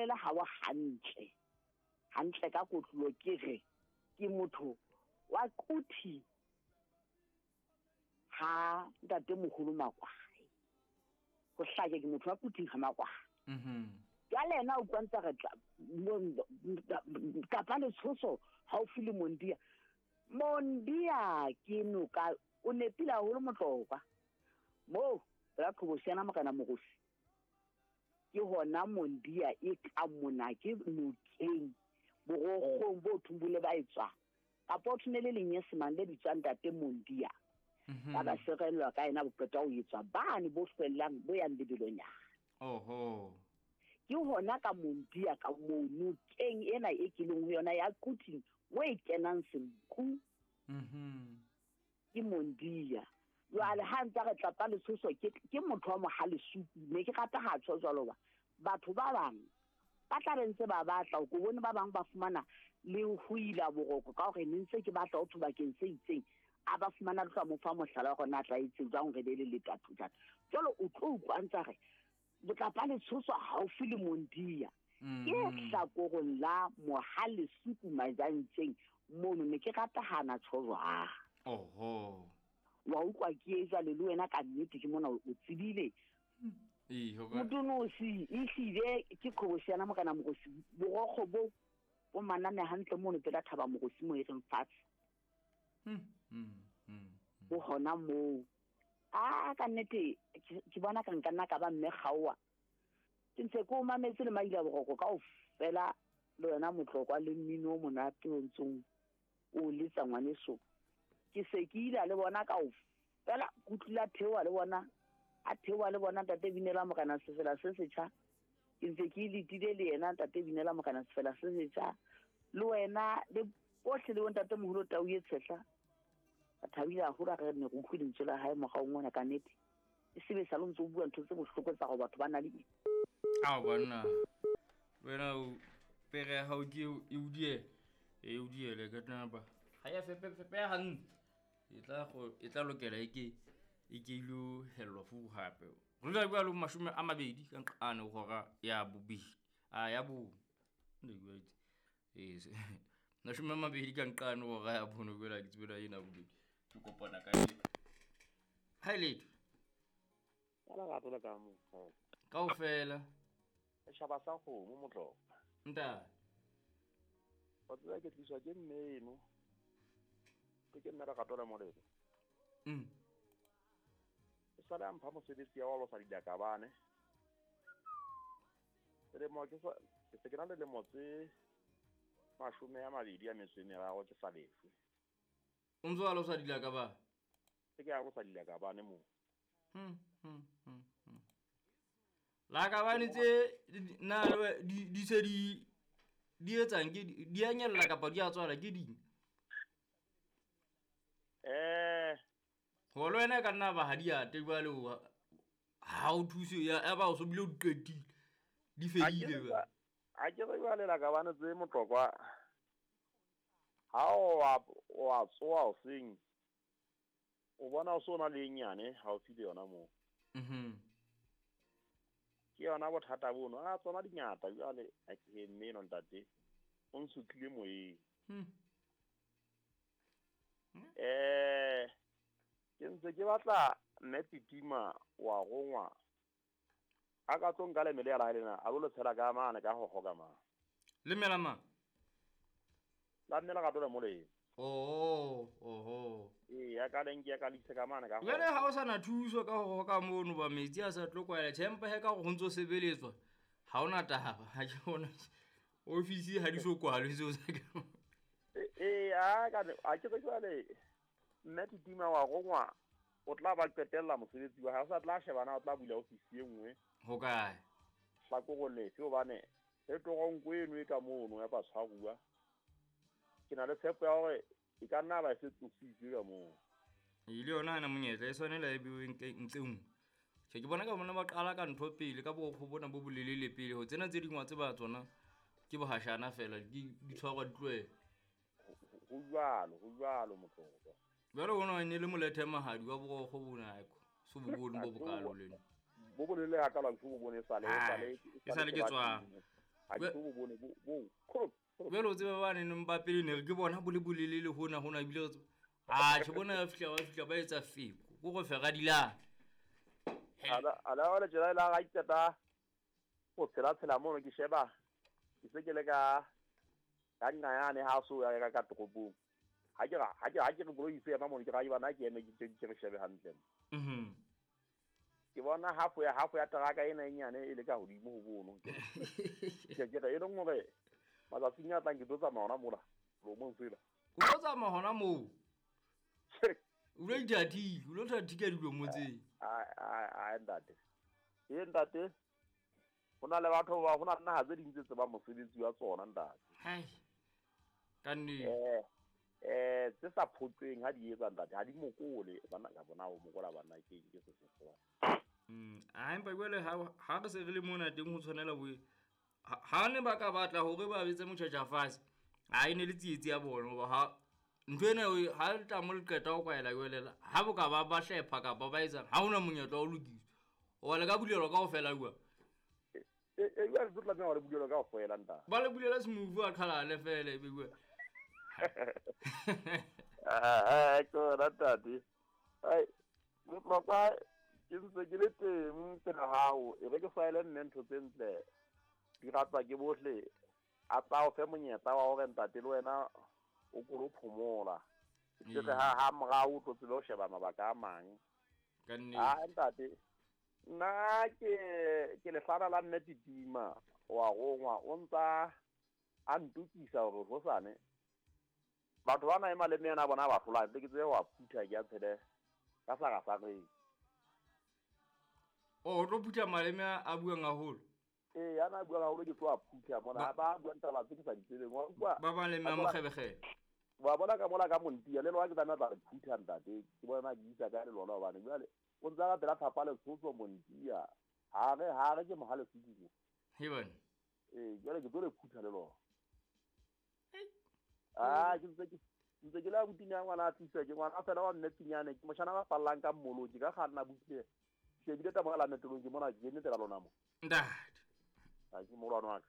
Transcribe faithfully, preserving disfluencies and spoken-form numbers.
bolele ha wa hantle hantle ka kotlo ke re ke motho wa kuthi ha ntate moholo Makwai go hlake ke motho wa kuthi ha Makwai mhm jwale yena o kwantsa re tla kapa le tshoso haufi le Mondia Mondia ke noka o nepile haholo Motlokwa mo ra qhobosana mokana mogosi ke hona Mondia e ka mona ke nokeng borokgong bo thumbule ba etswa kapa o thunele lenyesemane le bitswang ntate Mondia ba ba serellwa ka yena boqeta ho etswa bane bo hlwellang bo yang lebelonyana oho ke hona ka Mondia ka moo nokeng ena e kileng ho yona ya Quthing mo e kenang Senku mhm ke Mondia jwale ha ntse re tlapa letshoso ke ke motho wa mohalesuku ne ke rata ha tsho jwalo ba batho ba bang ba tla re ntse ba batla o bone ba bang ba fumana le ho ila boroko ka hore ne ntse ke batla ho thobakeng se itseng a ba fumana tla mo fa mohlala wa rona tla itseng jwang re be le letathu jwalo jwalo o tlo utlwa ntse re botlapa letshoso haufi le Mondia ke hlakorong la mohalesuku majantseng mono ne ke rata hana tsho jwang oho wa utlwa ke e jwale le wena ka nnete ke mona o tsebile ee ho ka Motonosi e hlile ke qhobosana mokana mogosi borokgo bo bo manane hantle mono pela thaba mogosi mo e reng fatshe mm mm mm bo hona moo a ka nnete ke bona ka nka nna ka ba mme kgaowa ke ntse ko mametse le maila boroko kaofela le wena Motlokwa le mmino o monate o ntsong o letsa ngwaneso ke se ke ile le bona kaofela kutlula theoha le bona a theoha le bona ntate Binela mokana sefela se setjha ke ntse ke letile le yena ntate Binela mokana sefela se setjha le wena le bohle le bontate moholo Tau e tshehla a thabile haholo re ne re utlwe lentswe la hae moraong ona ka nnete e sebe sa lo ntse o bua ntho tse bohloko tsa gore batho ba na le ao banna wena o pere ya hao ke e o diele e o diele ka tnapa ha ya fepe fepe hantle e tla go e tla lokela e ke e ke ilo hellwa fu hape re tla bua lo mashome a mabedi ka nqane hora ya bobedi a ya bo ne bua itse e mashome a mabedi ka nqane hora ya bono kwela ke tsebela ena bobedi ke kopana ka e ha letho ka la gato la ka mo kaofela shaba sa kgomo Motlokwa ntate wa tseba ke tliswa ke mme eno ke ke mme Lerato la Molemo mm e sale a mpha mosebetsi ya wa losa dilakabane selemo ke sa ke se ke na le lemo tse mashome a mabedi a metso e meraro ke sa lefe o ntso a losa dilakabane ke ke a losa dilakabane mo mm mm mm lakabane tse na di di se di di etsang ke di a nyella kapa di a tswala ke ding eh ho le wena ka nna ba ha di ate jwale ha o thuse ya ba o so bile o qetile di fedile ba a ke re jwale lakabane tse Motlokwa ha o wa o a tsoa o seng o bona o so na le nyane ha o file yona moo mhm ke yona bothata bono a tsona dingata jwale a ke mme eno ntate o nsutlile moyeng mm eh ke ntse ke batla mme Titima wa rongwa a ka tlo nka lemele ya la lena a lo tshela ka mane ka ho hoka ma lemela ma la mme la gato la molemo oh oho ee ya ka leng ke ya ka lise ka mane ka jwale ha o sana thuso ka ho hoka mono ba metsi a sa tlo kwaela tjhempa he ka go ntso sebeletswa ha ona taba ha ke bona ofisi ha di so kwalwe seo sa ka ee a ka a ke jwale mme Titima wa rongwa o tla ba qetella mosebetsi wa hae o sa tla shebana o tla bula ofisi e nngwe ho kae hlakore lefe hobane e toronko eno e ka mono ya batshwaruwa ke na le tshepo ya hore e ka nna ba e se tlositswe ka moo e le yona ana monyetla e tshwanela e bewe ntle nngwe tjhe ke bona ka bona ba qala ka ntho pele ka borokgo bona bo bolelele pele ho tsena tse dingwe tse ba tsona ke bohashana fela di di tshwarwa di tlohele ho jwalo ho jwalo Motlokwa jwale ona ne le molethe mahadi wa borokgo bona eko so bo bone bo bokalo lena bo bolele ha ka la bo bone sale sale e sale ke tswa Ha ke bo bone bo bo kholo. Jwale o tsebe ba neng ba pele ne re ke bona bo le bolelele hona hona ebile re tseba. Ah, ke bona ba fihla ba fihla ba etsa feko. Ko go fera dilana. Ala ala wala tjela la ga iteta go tshela tshela mono ke sheba. Ke se ke le ka ka nna yane ha so ya ka ka toropong. Ha ke ha ke ha ke re koloi se ema mono ke ga bana ke eme ke ke re shebe hantle. Mhm. Ke bona half ya half ya teraka ena e nyane e le ka hodimo ho bono. Ke ke re e leng hore matsatsing a tlang ke tlo tsamaya hona mola lomong tsela. O tlo tsamaya hona moo. O lo ithathile, o lo thathika dilomo tse. Ai ai ai ntate. E ntate. Ho na le batho ba ho na le naha tse ding tse tsebang mosebetsi wa tsona ntate. Hai. Ka nnete. Eh eh tse sa phoqeng ha di etsa ntate, ha di mokole bana ka bona o mokola bana ke ke se se se. Mm, a empa jwale ha ha re se re le mona teng ho tshwanela bo ha ne ba ka batla hore ba betse motjhatja fatshe. Ha e ne le tsietsi ya bona hoba ha ntho ena ha le tla mo le qeta ho kwaela jwale ha bo ka ba ba hlepha kapa ba etsa ha hona monyetla wa ho lokiswa. Hoba le ka bulelwa kaofela jwang. E e jwale tlo tlameha hore bulelwa kaofela ntate. Ba le bulela smooth a qhalane fela ebe jwale. Ah, ke ona ntate. Ai, bohlokwa ke ntse ke le teng pela hao, e re ke faele nne ntho tse ntle. Di ratwa ke bohle. A tla o fe monyetla wa hore ntate le wena o kolo phomola. Ke re ha ha morao o tlo tsebe ho sheba mabaka a mang. Ka nnete. Ah ntate. Nna ke ke lehlana la mme Titima wa rongwa o ntsa a ntukisa hore hosane batho bana e maleme yana bona ba hlola ke tsebe wa phutha ke a tshele ka sa ga sa re. O tlo phutha maleme a buang haholo. Eh yana buang haholo ke tlo a phutha mona ba buang taba tse ke sa di tsebeng wa utlwa. Ba maleme a mokgebekgebe. Wa bona ka mola ka montia le lona ke tsamaya tla re phutha ntate ke bona ke isa ka le lona hobane jwale o ntsa ka pela thapa le tshotso montia ha re ha re ke mohale sedimo. He bana. Eh jwale ke tlo le phutha le lona. Ah ke ntse ke ntse ke la butinya ngwana a tlisa ke ngwana fela wa mme Tinyane ke moshana ba fallang ka mmolo ke ka kganna butle. Shebile taba la metolong ke mona ke ene pela lona mo. Ntate. Ha ke molwana wa ka.